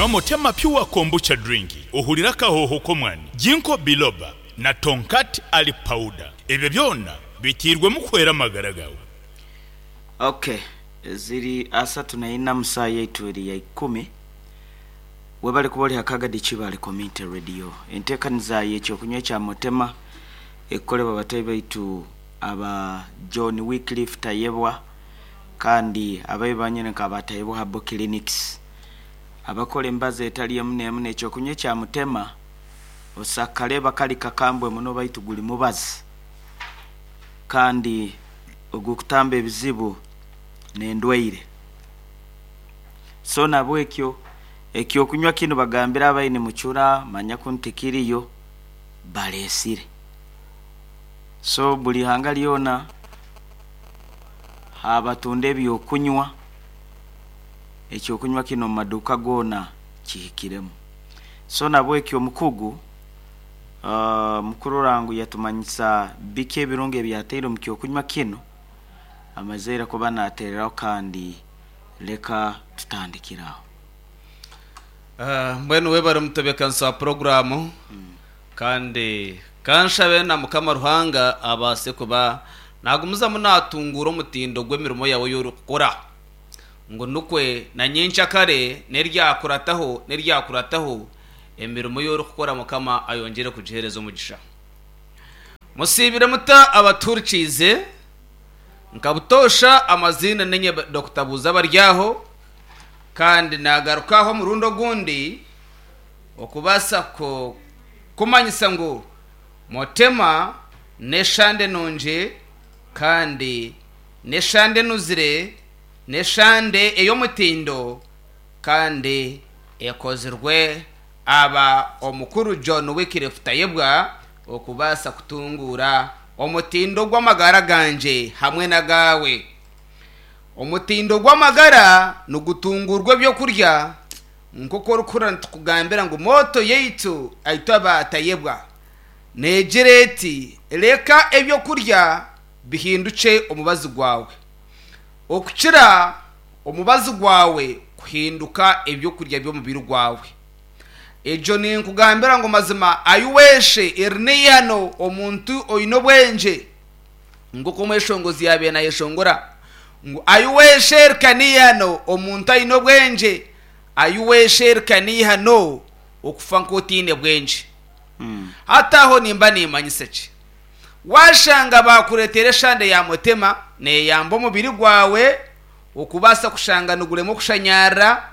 Nywa Motema Pure Kombucha Drink ohurire akahooho k'omwani, Ginkgo Biloba na Tongkat Ali Powder. Ebyo byona biteirwemu kuhwera amagara gaawe. Ok ziri asatu na ina musaa yaitu eri ya ikumi webale kuba ori ha Kagadi Kibaale Community Radio. Entekaniza y'ekyokunywa ekya Motema ekukolebwa batahi baitu aba John Wycliffe Tayebwa kandi ababi banyine nka ba Tayebwa Herbal Clinics abakora emibazi etari emu n'emu n'ekyokunywa ekya Mutema osakareeba kari kakambwe muno baitu guri mubazi kandi ogurikutamba ebizibu n'endwaire. So nabwekyo ekyokunywa kinu bagambire abaine mucura manya kunu tikiriyo baresire. So buri ihanga ryona Abatunda eby'okunywa, eky'okunywa kinu omu maduuka goona kihikiremu. So nabweki omukugu mukurora ngu yatumanyisa biki ebirungi ebyataire omu ky'okunywa kinu, amazeire kuba natereraho kandi leka tutandikire aho. Mbwenu webare omutebeekanisa wa puroguraamu Kandi ka nshabe na Mukama Ruhanga abaase kuba naagumizamu naatunguura omutindo gw'emirimo yaawe ei orikukora, ngu nikwe na nyenkyakare n'eryakurataho n'eryakurataho, emirimo ei orikukora Mukama ayongyere kugiheereza omugisha. Musiibire muta abatuhurikiize? Nka butoosha amaziina niinye Dokita Buuza Abaryaho, kandi naagaruka aha omurundi ogundi. Okubaasa kumanyisa ngu Motema n'eshande nungi kandi n'eshande enuzire, n'eshande ey'omutindo kandi ekozirwe aba omukuru John Wycliffe Tayebwa okubaasa kutunguura omutindo gw'amagara gangye hamwe n'agaawe. Omutindo gw'amagara nigutunguurwa eby'okurya. Nk'oku orikuhurira nitukugambira ngu mooto yaitu itwe aba Tayebwa neegira eti, Reka eby'okurya bihindukye omubazi gwawe, okukira omubazi gwawe kuhinduka eby'okurya by'omubiri gwawe. Egyo ninkugambira ngu mazima ayiweshe eri n'eihano omuntu oine obwengye. Nk'oku omweshongozi yaabaire naayeshongora ngu, Aiweshereka n'eihano omuntu aine obwengye, aiweshereka n'eihano okufa nk'otaine bwengye. Hati aho nimba nimmanyisa ki? Waashanga baakureetera eshande ya mutema neeyamba omubiri gwawe okubaasa kushanga niguremwa okushanyarara,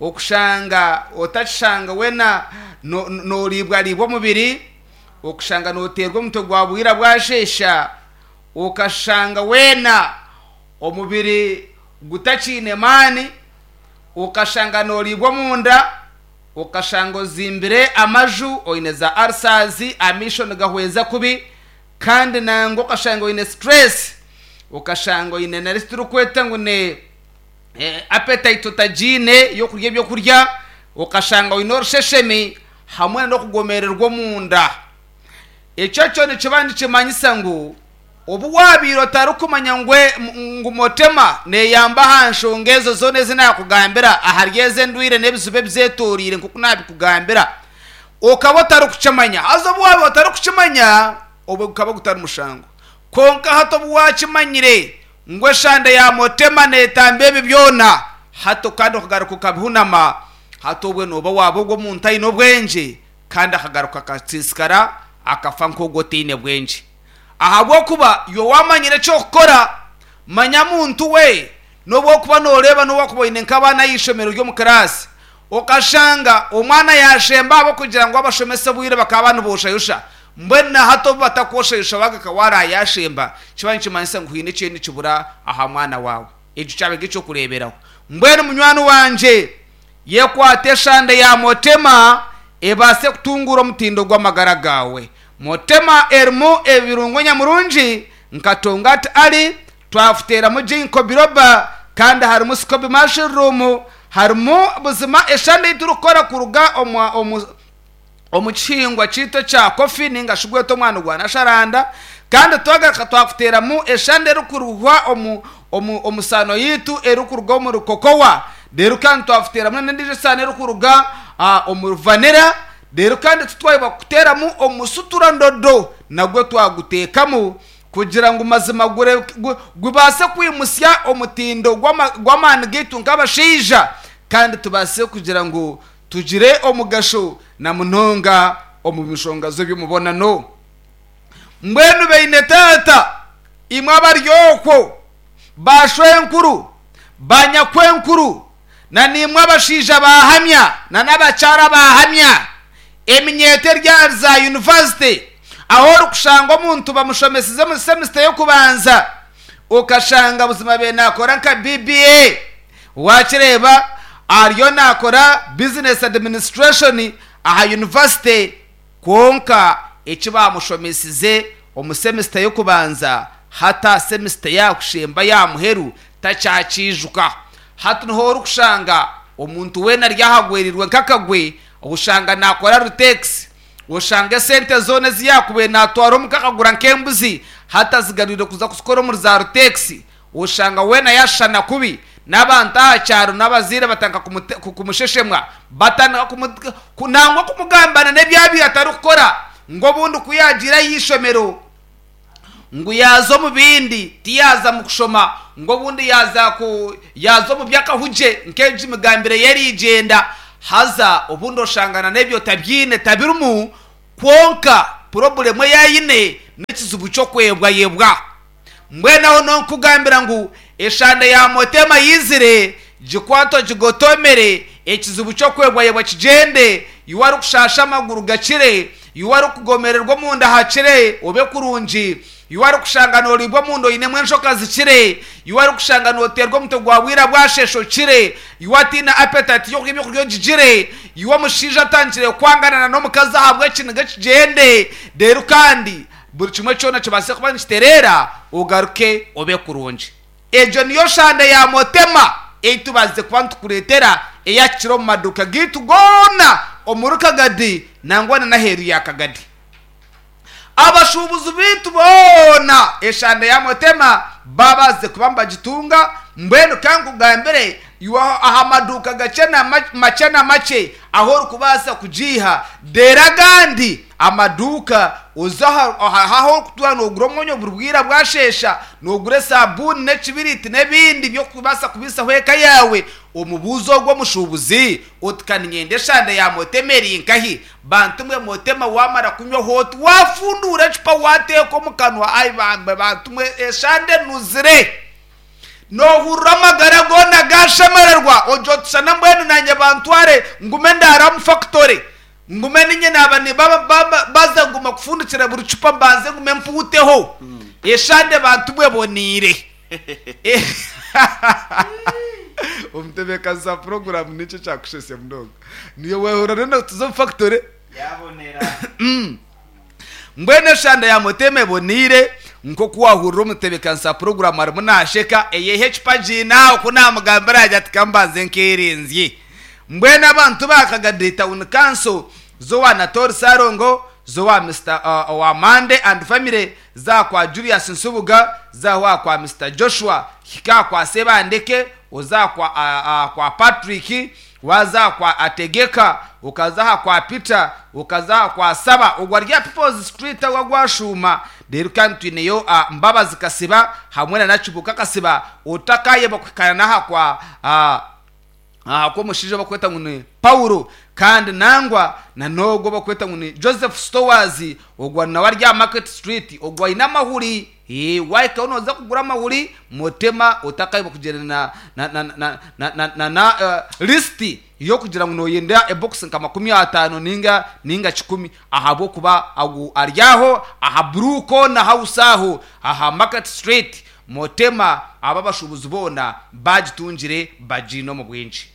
okushanga otakishanga weena nooriibwariibwa omubiri, Okushanga nooteerwa omutwe gwa bwira bwasheesha, okashanga weena omubiri gutakiine maani, okashanga nooriibwa omunda, okashanga ozimbire amaju, oine za ulcers, amaisho nigahweza kubi, kandi nangwa okashanga oine stress, okashanga oine na eki turikweta ngu ni appetite otagiine y'okurya ebyokurya, okashanga oine orusheshemi. hamwe n'okugomererwa omunda. Ekyo kyo nikiba nikimanyisa ngu obu waabaire otarikumanya ngu ngu Motema neeyamba aha nshonga ezo zoona ezi naakugambira ahari ezo endwaire n'ebizibu ebizeetoreire nk'oku naabikugambira, okaba otarikukimanya. Haza obu waabaire otarikukimanya, obwo gukaba gutari mushango. Kwonka hati obu waakimanyire ngu eshande ya Motema neetamba ebi byona, hati kandi okagaruka okabihunama, Hati obwe nooba waaba ogwo omuntu aine obwengye kandi akagaruka akasiisikara akafa nk'ogwo otaine bwengye. Ahabw'okuba iwe waamanyire eky'okukora, manya muntu we, n'obu orikuba nooreeba n'obu wakuba oine nk'abaana aha ishomero ry'omu kiraasi, okashanga omwana yaashemba ahabw'okugira ngu abashomesa obwire bakaba niboshayosha, mbwenu na hati obu batakwoshayosha waagaruka waaraayashemba, kiba nikimanyisa ngu haine ekiriyo nikibura aha mwana waawe. Ekyo kyaba nk'eky'okureeberaho. Mbwenu munywani wangye, yekwate eshande ya Motema ebaase kutunguura omutindo gw'amagara gaawe. Motema erimu ebirungo nyamurungi nka Tongat Ali, twafuteeramu Ginkgo biloba kandi harimu Scoby Mushroom, harimu buzima eshande ei turikukora kuruga omu omu omu kihingwa kyaitu ekya kofi ninga shi gwete omwani gwa nasharanda kandi twagaruka twakuteeramu eshande erikuruhwa omu omu omu saano yaitu erikuruga omuri kokowa. Reero kandi twafuteeramu n'endiijo esaano erikuruga omuri vanilla. Reero kandi titwayebwa kuteeramu omusutura ndodo nagwo twaguteekamu kugira ngu mazima gubaase kwimutsya omutindo gw'amaani gaitu nk'abashaija kandi tubaase kugira ngu tugire omugasho na munonga omu nshonga z'eby'omubonano. Mbwenu beine taata, imwe abari okwo, baashwenkuru, banyakwenkuru, na naimwe abashaija baahamya na n'abakyara baahamya, eminyeeto eri ahari za yunivasite, ahu orikushanga omuntu bamushomesize omu semisita y'okubanza, okashanga buzima abaire naakora nka BBA, waakireeba ariyo naakora Business Administration aha yunivasite, Kwonka eki baamushomesize omu semisita y'okubanza, hati aha semisita yaakushemba y'aha muheru takyakiijuka. Hati niho orikushanga omuntu weena ari ahagwereirwe nk'akagwe, oshanga naakora ruteekisi, oshanga esente zoona ezi yaakubaire naatwara omuka akagura nk'embuzi, hati azigarwire kuza kuzikora omuri za ruteekisi. Oshanga weena yaashushana kubi n'abantu aha kyaro n'abazaire batandika kumusheshemwa, batandika nangwa kumugambana n'ebi abaire atarikukora ngu obundi ku yaagiire aha ishomero ngu yaaza omu bindi tiyaaza mu kushoma ngu obundi yaaza yaaza omu by'akahugye nk'egi migambire ye erigyenda haza obundi oshanga n'ebyo tabyine tabirimu kwonka purobulemu ei aine n'ekizibu ky'okwebwayebwa. Mbwenu aho nonkugambira ngu eshande ya Motema yizire, gikwate ogigotomere, ekizibu ky'okwebwayebwa kigyende, iwe arikushasha amaguru gakire, iwe arikugomererwa omunda hakire obe kurungi, iwe arikushanga noriibwa omunda oinemu enjoka zikire, iwe arikushanga noteerwa omutwe gwa bwira bwashesha okire, iwe ataine appetite y'okurya ebyokurya ogigire, iwe omushaija atandikire kwangana na n'omukazi ahabw'ekiniga kigyende, reero kandi Buri kimwe kyona kibaase kuba nikitereera, ogaruke obe kurungi. Egyo niyo shanda ya Motema ei tubaasize kuba nitukureetera eyakikira omu maduuka gaitu goona omuri Kagadi nangwa na n'aheeru ya Kagadi. Abashuubuzi baitu boona eshanda ya Motema baabaasize kuba nibagitunga. Mbwenu ka nkugambire iwe aha maduuka gakye na makye na makye ahu orikubaasa kugiiha, reero agandi Amaduuka, oze aha ahu orikutuura noogura omwonyo buri bwire bwasheesha, noogura esaabuuni n'ekibiriiti n'ebindi by'okubaasa kubaisaho eka yaawe, omubuuze ogwo omushuubuzi oti ka niinyenda eshande ya Motema eri nkahi? Bantu mwe Motema waamara kunywaho oti waafunduura ecupa waateeka omu kanwa ai bambe bantu mwe eshande enuzire! Noohurira amagara goona gaashemererwa ogira oti shana mbwenu naanye bantware ngume ndaare omu fakitore. Ngume ninye naaba baza nguma kufundikira buri cupa mbanze ngume mpuuteho eshande bantu mwe eboniire. Omutebeekanisa wa puroguraamu n'enki ekyakushesya munonga? Niiwe weehurira n'oyenda kutuza omu fakitore? Mbwenu eshande ya Mutema eboniire nk'oku waahurira omutebeekanisa wa puroguraamu arimu naasheka, eyehe ecupa agiine aho ku naamugambira agira ati ka mbanze nkeerenzye. Mbwenu abantu ba Kagadi Town Council z'owa Natori Ssalongo, z'owa Mister owa Mande and family, za kwa Julius Nsubuga, za owa kwa Mister Joshua, hika aha kwa Sebandeke, oza aha kwa aha kwa Patrick, waaza aha kwa Ategeka, okaza aha kwa Peter, okaza aha kwa Saba, ogwo ari aha People's Street ahu agwashuuma. Reero kandi twineyo Mbabazi Kasiba hamwe na Nakibuuka Kasiba, otakaayebwa kuhikaana n'aha kwa aha kw'omushaija ou barikweta ngu ni Paulo, kandi nangwa na n'ogwo ou barikweta ngu ni Joseph Stowers, ogwo nawe ari aha Market Street, ogwo aine amahuri. Ee, waahikayo nooza kugura amahuri, Mutema otakaayebwa kugyenda na na na na na na na na lisiti y'okugira ngu nooyenda ebokisi nka 50 nainga nainga kikumi, ahabw'okuba agu ari aho aha Blue Corner House aho aha Market Street. Mutema abo abashuubuzi boona baagitungire bagiine omu bwingi.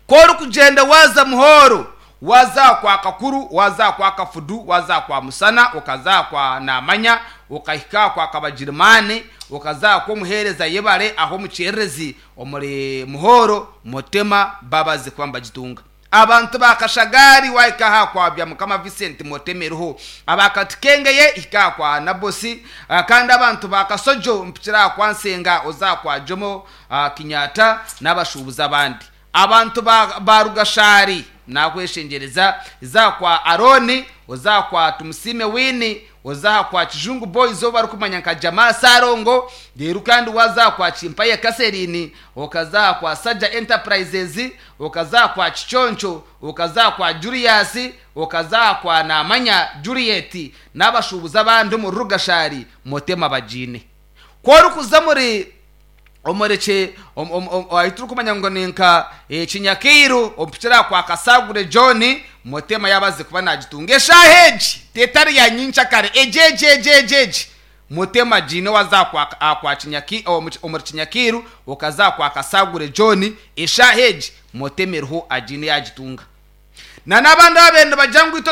Ku orikugyenda waaza Muhoro, waaza aha kwa Kakuru, waaza aha kwa Kafudu, waaza aha kwa Musana, okaza aha kwa Naamanya, okahika aha kwa Kabagirimaani, okaza aha kw'omuheereza Yebare aha omu Kyererezi omuri Muhoro, Mutema babaze kuba nibagitunga. Abantu ba Kashagari wahika aha kwa Byamukama Vincent Motema eriho. Aba Katukengeye hika aha kwa Nabosi. Kandi abantu ba Kasojo mpikira aha kwa Nsenga oza aha kwa Jomo Kenyatta n'abashuubuzi abandi. Abantu ba ba Rugashari nakweshengyereza za aha kwa Arooni oza aha kwa Tumusiime Winnie oza aha kwa Kijungu Boys ou barikumanya nka Jamaa Ssalongo reero kandi waaza aha kwa Kimpaye Catherine okaza aha kwa Sajja Enterprises okaza aha kwa Kiconco okaza aha kwa Julius okaza aha kwa Namanya Juliet n'abashuubuzi abandi omuri Rugashari Motema bagiine. Ku orikuza omuri omuri ki ahu turikumanya ngu ni nka Kinyakairu ompikire aha kwa Kasagure John Motema yaaba aze kuba naagitunga eshaaha egi tetari ya nyenkyakare egi egi egi egi egi Motema agiine waaza aha kwa omuri Kinyakairu okaza aha kwa Kasagure John eshaaha egi Motema eriho agiine yaagitunga. Na n'abandi ababaire nibagira ngu itwe.